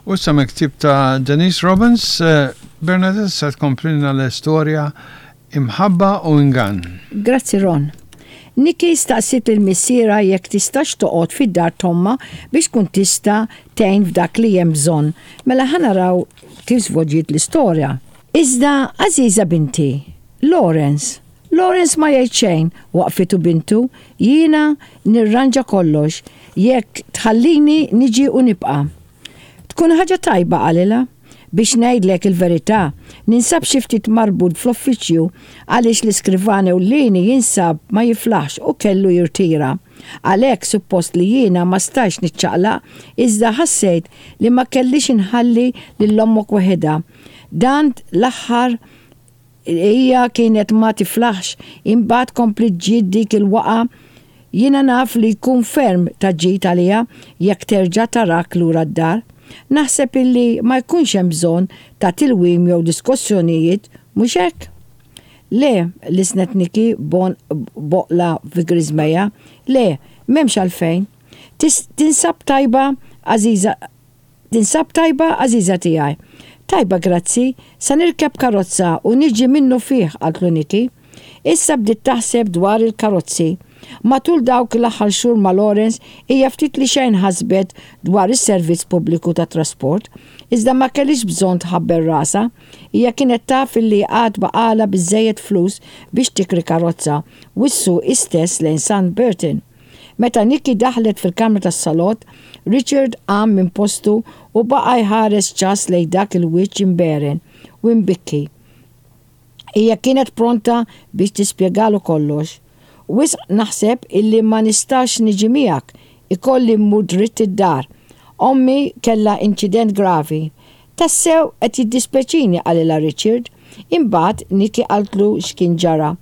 U issa mill-ktieb ta' Denise Robbins, Bernadette se tkomplilna l-istorja Imħabba u Ingann. Grazzi Ron. Nikki staqsiet lil missierha jekk tistax toqgħod fid-dar t'ommha biex tkun tista' tgħin f'dak li hemm bżonn. Mela ħa naraw kif żvolġiet l-istorja. Iżda, għażiża binti, Lawrence, Lawrence ma jgħid xejn, waqfitu bintu, jiena nirranġa kollox, jekk tħallini niġi u nibqa'. Tkun ħaġa tajba, qalilha. Biex ngħidlek il-verità, ninsab xi ftit marbut fl-uffiċċju għaliex l-iskrivan ewlieni jinsab ma jiflaħx u kellu jirtira. Għalhekk suppost li jiena ma stajtx niċċaqlaq iżda ħassejt li ma kellix inħalli lil ommok waħedha. Dan l-aħħar Hija kienet ma tiflaħx, imbagħad kompliet ġiet dik il-waqgħa. Jiena naf li jkun ferm ta' ġid għaliha jekk terġa' tarak lura d-dar. Naħseb illi ma jkunx hemm bżonn ta' tilwim jew diskussjonijiet, mhux hekk? Le, lissnet Nikki b'għoqla fi griżmejha, le, m'hemmx għalfejn. Tinsab tajba, għażiża Tinsab tajba, għażiża tiegħi? Tajba, grazzi. Sa nirkeb karozza u niġi minnufih, qaltlu Nikki. Issa bdiet taħseb dwar il-karozzi. Matul dawk l-aħħar xhur ma' Lawrence hija ftit li xejn ħasbet dwar is-servizz pubbliku tat-trasport. Iżda ma kellhiex bżonn tħabbel rasha. Hija kienet taf illi għad baqgħalha biżżejjed flus biex tikri karozza u ssuq hi stess lejn Sandburton. Meta Nikki daħlet fil-kamra tas-salott, Richard qam minn postu u baqa' jħares ċass lejn dak il-wiċċ imberen u imbikki. Hija kienet pronta biex tispjegalu kollox. Wisq naħseb illi ma nistax niġi miegħek, ikolli mmur dritt id-dar. Ommi kellha inċident gravi. Tassew qed jiddispjaċini qalilha Richard. Imbagħad Nikki qaltlu x'kien ġara.